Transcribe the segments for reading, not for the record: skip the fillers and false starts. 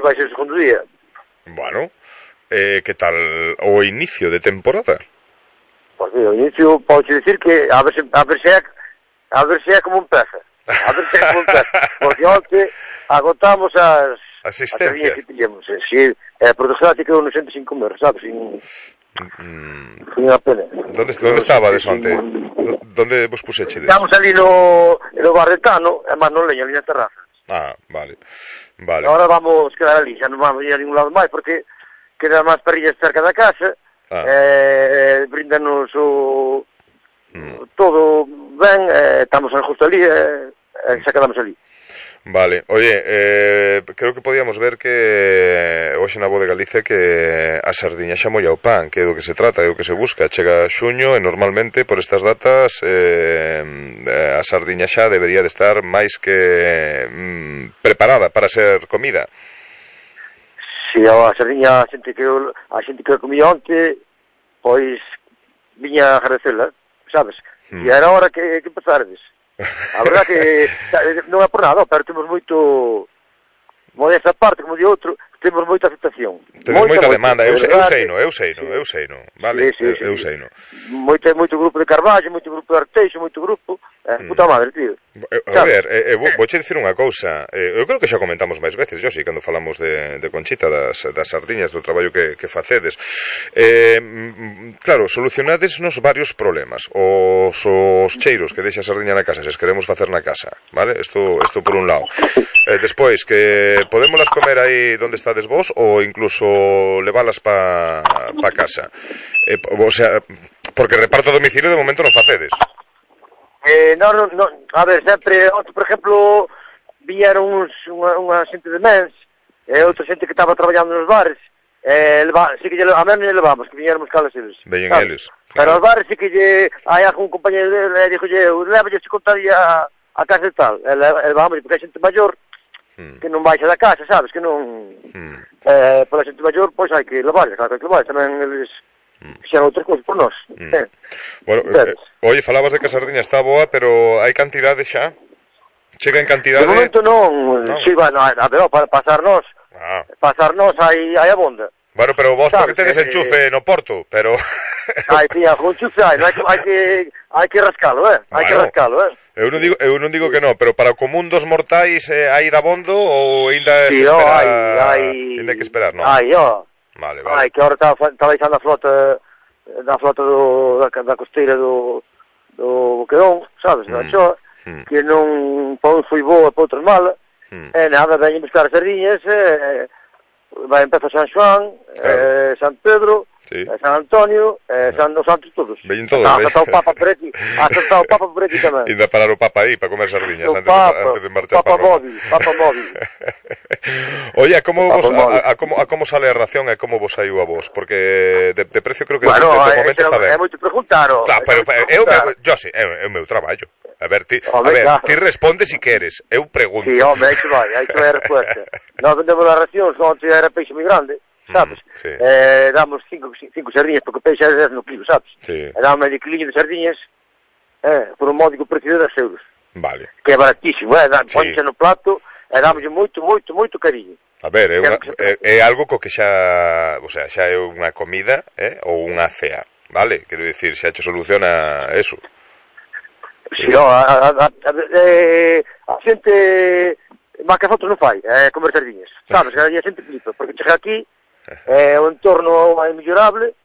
vai ser o segundo día. Bueno, que tal o inicio de temporada? Pois o inicio, pode dicir que a ver se é como empeza. A ver se é como empeza. Porque onte agotamos as asistencias que tiñamos. Si, por desgracia quedou nos 105 meses, sabes? Foi unha pena. Donde estaba desonte? Donde vos pusechedes? Estamos ali no Barretano, e máis non leña, ali na terraza. Ah, vale. Agora vamos quedar ali, xa non vamos ir a ningún lado máis, porque quedan máis parrillas cerca da casa, brindanos todo ben, estamos justo ali, xa quedamos ali. Vale, oye, creo que podíamos ver que hoxe na Voz de Galicia que a sardiña xa molla o pan, que é do que se trata, é o que se busca. Chega xuño e normalmente por estas datas a sardiña xa debería de estar máis que preparada para ser comida. Si, a sardiña, a xente que comía onte, pois viña a agradecela, sabes? E era hora que empezardes. A verdade que non é por nada, pero temos moito, modesta parte, como di outro, temos moita aceptación. Temos moita demanda, eu sei no, vale, sí. Eu sei no. Moito grupo de Carballo, moito grupo de Arteixo, moito grupo, puta madre, tío. A ver, vouche dicir unha cousa, eu creo que xa comentamos máis veces, yo cando falamos de Conchita, das sardiñas, do traballo que facedes. Claro, solucionadesnos varios problemas, os cheiros que deixa a sardiña na casa, se as queremos facer na casa, vale? Isto por un lado. Despois, que podémolas comer aí onde estades vos, ou incluso leválas pa casa. O sea, porque reparto a domicilio de momento non facedes. Non, a ver, sempre, por exemplo, viñeron unha xente de mens, outra xente que estaba traballando nos bares, sí que a menos levamos, que viñéramos calas eles. Veñen eles. Pero aos bares sí que hai algún compañero dele, dixolle, levalle se contaría a casa e tal, levamos, porque hai xente maior, que non baixa da casa, sabes, que non... Pola xente maior, pois hai que levarles, claro que hai que levarles, tamén eles fixeron outras cousas por nós. Bueno, oye, falabas de que a sardiña está boa, pero hai cantidade xa? Chega en cantidade? De momento non. Sí, bueno, a ver, para pasarnos hai abonda. Bueno, pero vos porque tedes enchufe no Porto, pero... Con enchufe hai que rascalo, hai que rascalo, Eu non digo que non, pero para o común dos mortais hai dabondo ou ainda se espera... Ainda hai que esperar, non? Vale. Que agora está baixando a flota da costeira do Boquedón, sabes, da Choa, que non foi boa para outras mala, nada, veñen buscar as sardiñas, vai empezar San Xoán, San Pedro, San Antonio, os santos todos. Veñen todos, hasta o Papa por aquí, tamén. Ainda parar o Papa aí para comer sardiñas antes de marchar para Roma. Papa móvil. Oye, a como sale a ración e como vos saiu a vos? Porque de precio creo que bueno, de momento está ben. É moito preguntar. Claro, pero é o meu traballo. A ver, ti respondes si queres, eu pregunto. Sí, home, aí que vai a resposta. Nós vendemos as racións, non era peixe moi grande, sabes? Damos 5 sardinhas, porque o peixe é 10 no kilo, sabes? Damos medio quiliño de sardiñas, por un módico precio de 10 euros. Vale. Que é baratísimo, ponche no plato, e damos moito cariño. A ver, é algo co que xa, o sea, xa é unha comida, ou unha cea, vale? Quero dicir, xa che soluciona eso. Si, a xente máis que fotos non fai, comer sardiñas, sabes? A xente flipa, porque chega aquí, o entorno é mellorable,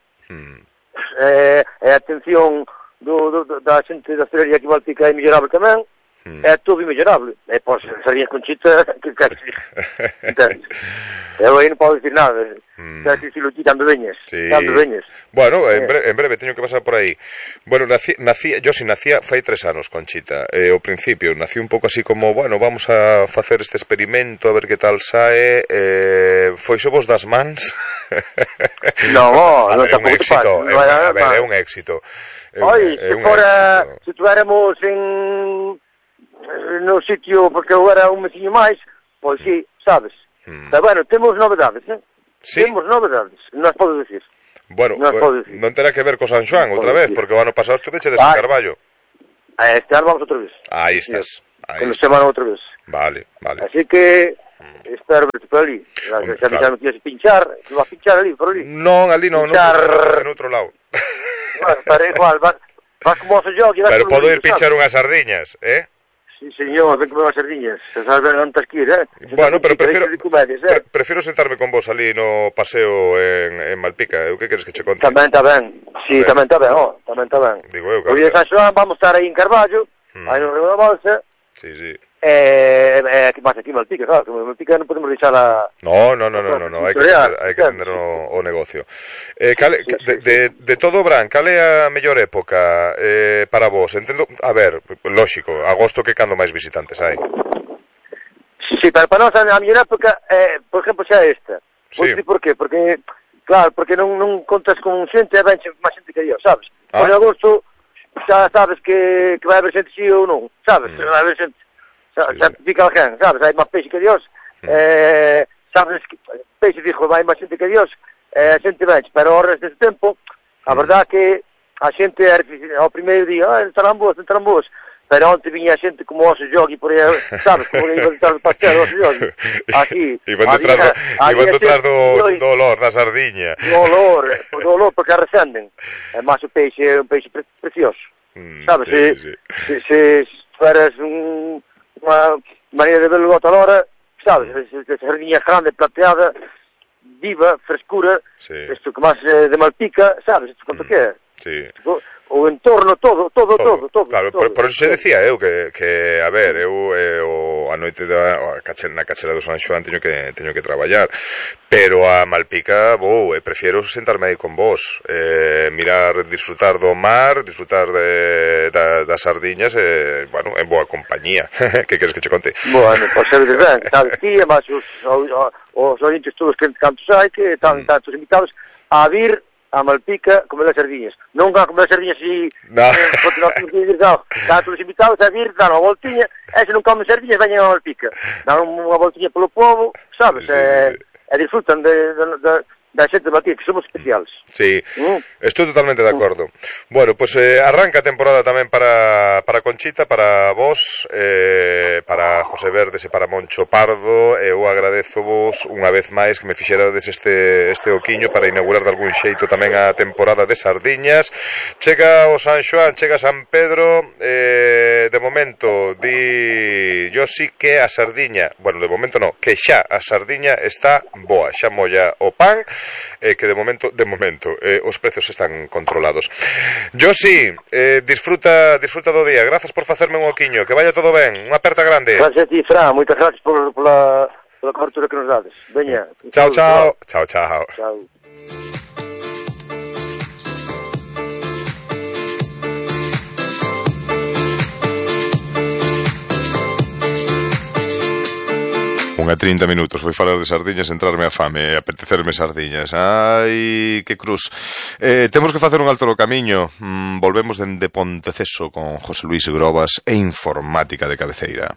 a atención da xente da hostelería que Valpica é mellorable tamén, é todo mellorable. Pois, sardiñas Conchita, que entendes? Eu aí non podo dicir nada. Si lo quitan de veñas. Bueno, en breve teño que pasar por aí. Bueno, yo nacía fai 3 anos, Conchita. Ao principio nací un pouco así como, bueno, vamos a facer este experimento a ver que tal sae. Foise vos das mans? Non, é un éxito. A ver, é un éxito. Se tuéramos no sitio, porque eu era un meciño máis, pois sí, sabes. Pero bueno, temos novedades, ¿Sí? Temos novedades, non as podo dicir. Bueno, non terá que ver co San Xoán outra vez, porque o ano pasado estuveche de San Carballo. Este ano vamos outra vez. Aí estás. Con semana outra vez. Vale. Así que Espero verte por ali. Xa me quieres pinchar, non vas pinchar ali, por ali. Non, ali non, en outro lado. Bueno, pero igual, vas como oso yo. Pero podo ir pinchar unhas sardiñas, Sí, señor, ven comer unhas sardiñas. Se sabes non tens que ir, Bueno, pero prefiero sentarme con vos ali no paseo en Malpica. O que queres que che conte? Tamén está ben. Sí, tamén está ben, tamén está ben. Digo eu, o día de San Xoán vamos estar aí en Carballo, aí no Río da Bolsa. Sí. Que máis aquí en Malpica, claro, que en Malpica non podemos deixar a... No, hai que atender o negocio. De todo, Bran, cal é a mellor época para vos? Entendo, a ver, lógico, agosto que cando máis visitantes hai. Sí, pero para nós a mellor época, por exemplo, xa esta. Sí. Por qué? Porque, claro, porque non contas con xente e ven máis xente que yo, sabes? Por agosto xa sabes que vai haber xente sí ou non, sabes? Vai haber xente... Xa fica alguén, sabes? Hai máis peixe que Dios. Sabes que peixe dixo, hai máis xente que Dios. A xente vence, pero ao resto deste tempo, a verdade que a xente ao primeiro día, entrarán boas. Pero onte viña a xente como oso yogi por aí, sabes? Como que iban detrás do pastel, oso yogi. Aquí. Iban detrás do olor da sardiña. Do olor, porque arrecenden. É máis o peixe, é un peixe precioso. Sabes? Se fueras unha maneira de verlo a outra hora, sabes, esa sardinha grande, plateada, viva, frescura, isto que máis de Malpica, sabes, isto quanto que é? Sí. O entorno, todo. Claro, por eso se decía eu que a ver, eu a noite na cachera do San Xoán teño que traballar, pero a Malpica prefiero sentarme aí con vos, mirar, disfrutar do mar, disfrutar das sardiñas, bueno, en boa compañía. Que queres que che conte? Bueno, pois ser ben, sabes ti, e máis os ointes todos que cantos hai, que están tantos invitados a vir a Malpica comer as sardiñas. Non van a comer as sardiñas e continuar a vir, están todos invitados a vir, dan unha voltiña, e se non comen sardiñas, veñen a Malpica. Dan unha voltiña polo povo, sabes, e disfrutan da xente de Malpica, que somos especiales. Sí, estou totalmente de acordo. Bueno, pues arranca a temporada tamén para Conchita, para vos, para José Verdes e para Moncho Pardo. Eu agradezo vos unha vez máis que me fixerades este oquiño para inaugurar de algún xeito tamén a temporada de sardiñas. Chega o San Xoán, chega San Pedro, de momento di yo sí que a sardiña, bueno, de momento no, que xa a sardiña está boa, xa molla o pan, que de momento os prezos están controlados. Yo sí, disfruta do día. Grazas por facerme un oquiño, que vaya todo ben. Unha aperta grande. Gracias a ti, Fran, moitas gracias pola cobertura que nos dades. Veña. Chao. Chao. Unha 30 minutos foi falar de sardiñas, entrarme a fame e apetecerme sardiñas. Ai, que cruz. Temos que facer un alto no camiño. Volvemos dende Ponteceso con José Luis Grobas e Informática de Cabeceira.